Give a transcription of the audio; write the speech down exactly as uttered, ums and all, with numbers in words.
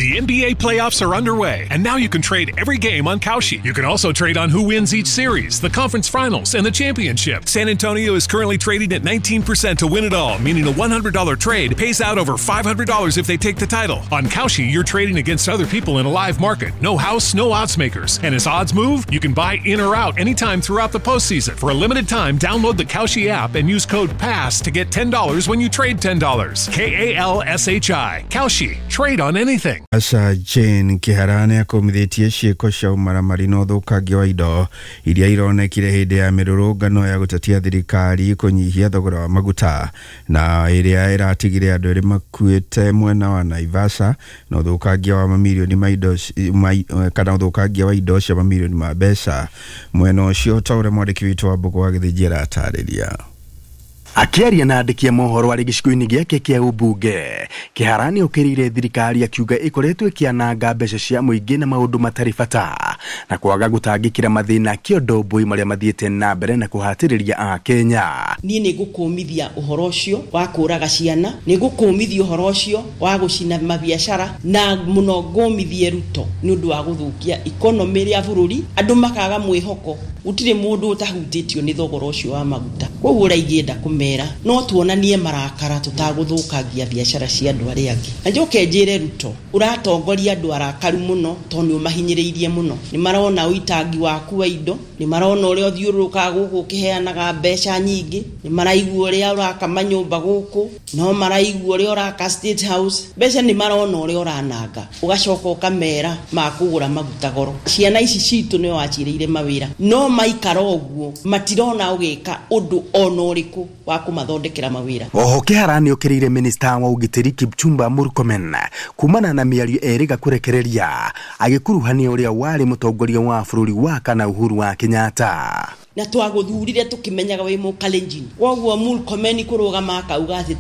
The N B A playoffs are underway, and now you can trade every game on Kalshi. You can also trade on who wins each series, the conference finals, and the championship. San Antonio is currently trading at nineteen percent to win it all, meaning a one hundred dollar trade pays out over five hundred dollars if they take the title. On Kalshi, you're trading against other people in a live market. No house, no odds makers. And as odds move, you can buy in or out anytime throughout the postseason. For a limited time, download the Kalshi app and use code PASS to get ten dollars when you trade ten dollars. K A L S H I. Kalshi. Trade on anything. Asa Jane Kihara nĩakũmithĩtie ciĩko cia ũmaramari na ũthũkangia wa indo iria ironekire hĩndĩ ya mĩrũrũngano ya gũtetia thirikari kũnyihia thogora wa maguta na ĩrĩa ĩratigire andũ erĩ makuĩte mwena wa Naivasha na ũthũkangia wa mamirioni ma indo kana ũthũkangia wa indo cia mamirioni ma mbeca mwena ũcio ta ũrĩa mwandĩki witũ wa Mbũgũ wa Gĩthĩnji aratarĩria. Akiaria na andĩki a mohoro arĩ gĩcigo-inĩ gĩake kĩa ũmbunge, Kihara nĩokĩrĩire thirikari akiuga ĩkoretwo ĩkĩananga mbeca cia mũingĩ na maũndũ matarĩ bata na kwaga gũtangĩkĩra mathĩna kĩondo mbui marĩa mathiĩte na mbere na kũhatĩrĩria Akenya. Niĩ nĩngũkũmithia ũhoro ũcio wa kũraga ciana, nĩngũkũmithia ũhoro ũcio wa gũcina mabiacara na mũno ngũmithie Ruto nĩ ũndũ wa gũthũkia economy ya bũrũri, andũ makaga mwĩhoko. Gũtirĩ mũndũ ũtahutĩtio nĩ thogora ũcio wa maguta. Koguo ũrĩa ingĩenda kũmera no tuonanie marakara tũtagũthũkangia biacara cia andũ arĩa angĩ. Na njoke njĩre Ruto, ũratongoria andũ arakaru mũno tondũ nĩ ũmahinyĩrĩirie mũno. Nĩ marona ũitangi waku wa indo, nĩ marona ũrĩa ũthiũrũrũkaga gũkũ ũkĩheanaga mbeca nyingĩ, nĩ maraigua ũrĩa ũraka manyũmba gũkũ, no maraigua ũrĩa ũraka State House. Mbeca nĩ marona ũrĩa ũrananga, ũgacoka ũkamera makũgũra maguta goro. Ciana ici citũ nĩ wacirĩire mawĩra, no maikara ũguo matirona ũgĩka ũndũ ona ũrĩkũ wa kũmathondekera mawĩra. Oho Kihara nĩokĩrĩire minista wa ũgitĩri Kipchumba Murkomen kumana na mĩario erĩga kũrekereria agĩkuruhania ũrĩa warĩ mũtongoria wa bũrũri wa kana Uhuru wa Kenyatta. Na twagũthurire tũkĩmenyaga wĩ Mũkalenjin, koguo Murkomen kũrũgama akauga atĩ